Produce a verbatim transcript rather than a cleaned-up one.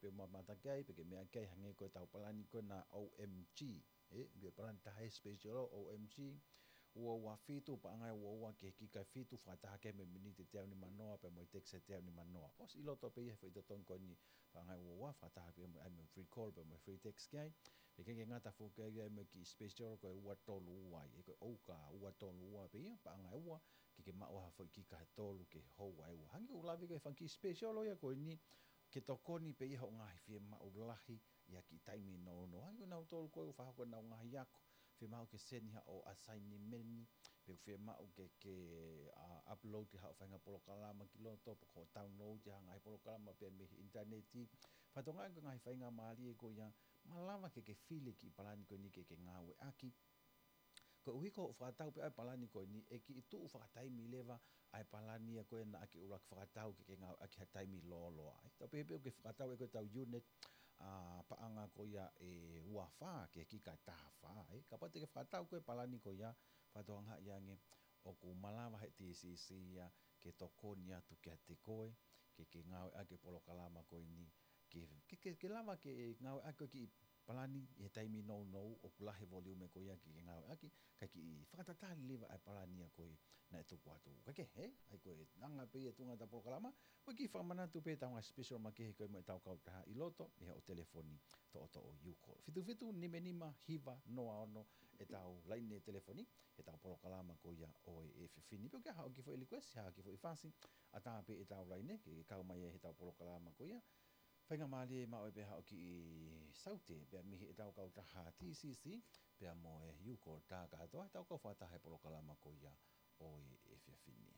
Pe mamata ki ai, pe ke meʻa ki ai, hangē ko ʻetau palani ko ena O M G. ʻE, pe palani taha special O M G. Ua ua fitu, paʻanga ʻe ua ua ki he kika ʻe fitu, fakataha ki ai mo e miniti ʻe teau nima noa, pea mo e text ʻe teau nima noa. ʻOsi ʻi loto pē ia he foʻi totongi ko eni, paʻanga ʻe ua ua, fakataha pē mo e, ai mo e free call, pea mo e free text ki ai. Pea ʻikai ke ngata foki ai mo e kiʻi special ko e ua tolu ua ai. ʻE ko e ʻouka ua tolu ua pē ia, paʻanga ʻe ua, ke ke maʻu ha foʻi kika ʻe tolu ke hou ai ua. Hangē ko ʻeku lave ko e fanga kiʻi special ia ko eni, ke tokoni pē ia hoʻo ngaahi fiemaʻu lahi, ʻi ha kiʻi taimi nounou. Hangē ko kinautolu ko ē ʻoku fakahoko ʻenau ngaahi ako, fiemaʻu ke send haʻo assignment, pe ʻoku fiemaʻu ke, ke, ʻa, upload haʻo faʻahinga polokalama ki loto, pe ko e download ha ngaahi polokalama pē mei he ʻinitaneti. Fakatokangaʻi ko e ngaahi faingamālie ko ia, malava ke ke fili e kiʻi palani ko eni ke ke ngāueʻaki. Koeʻuhi ko hoʻo fakatau pē ʻa e palani ko eni, ʻe kiʻi tuʻu fakataimi leva ʻa e palani ia ko ē naʻa ke ʻuluaki fakatau ke ke ngāueʻaki ha taimi lōloa ai. Tau pehē pē ʻoku ke fakatau ʻe koe ʻetau unit, ʻa, paʻanga ko ia ʻe ua fā ki he kika ʻe taha fā, ē. Kapau te ke fakatau ko ē palani ko ia, fakatokangaʻi ange ʻoku malava he T C C ia ke tokoni atu kiate koe, ke ke ngāueʻaki e polokalama ko eni, ke, ke, ke, ke lava ke ngāueʻaki e kiʻi palani ʻi he taimi nounou ʻoku lahi e volume ko ia ke ke ngāueʻaki, kae kiʻi fakatatali leva ʻa e palani ia ko ē naʻe tuku atu. Kae kehe, ʻa ia ko e anga pē ia e tuʻunga ʻetau polokalama, ko e kiʻi fakamanatu pē ʻetau ngaahi special makehe ko ē mo ʻetau kautaha ʻi loto, ʻi hoʻo telefoni toʻotoʻo, you call. Fitu fitu nima nima hiva noa ono ʻetau laine telefoni, ʻetau polokalama ko ia ʻo e efiafi ni. Pe ʻoku ʻi ai haʻo kiʻi foʻi request, haʻo kiʻi foʻi fasi, ʻatā pē ʻetau laine, ke kau mai ai heʻetau polokalama ko ia. Faingamālie maʻu ai pē haʻo kiʻi saute, pea mei heʻetau kautaha T C C, pea mo e you call tā kātoa, ʻetau kau fakataha he polokalama ko ia ʻo e efiafi ni.